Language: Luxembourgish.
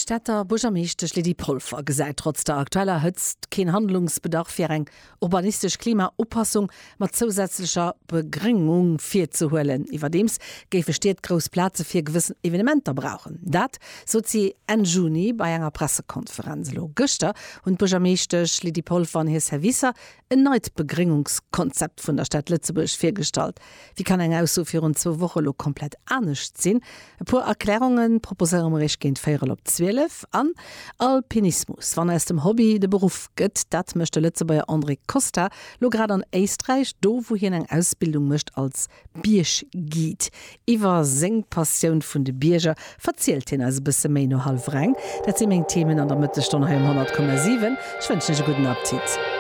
D'Stater Buergermeeschtesch Lydie Polfer gesäit trotz der aktueller Hëtzt keen Handlungsbedarf fir eng urbanistesch Klimaupassung mat zousätzlecher Begréngung virzehuelen. Iwwerdeems géife Stied grouss Plaze fir gewëssen Evenementer brauchen. Dat sot si Enn Juni bei enger Pressekonferenz. Elo gëschter hunn d'Buergermeeschtesch Lydie Polfer an hir Servicer en neit Begréngungskonzept vun der Stad Lëtzebuerg virgestallt. Wéi kann eng Ausso virun zwou Woche lo komplett anescht sinn? E puer Erklärunge proposéiere mer iech géint véierel op 12. An Alpinismus, wann aus dem Hobby de Beruff gëtt, dat mécht de Lëtzebuerger André Costa lo grad an Éisträich, do wou hien eng Ausbildung mécht als Biergguide. Iwwer seng Passioun vun de Bierger verzielt hien eis e bësse méi no hallwer eng. Dat si meng Themen an der Mëttesstonn hei um 100,7. Ech wënschen iech e gudden Appetit.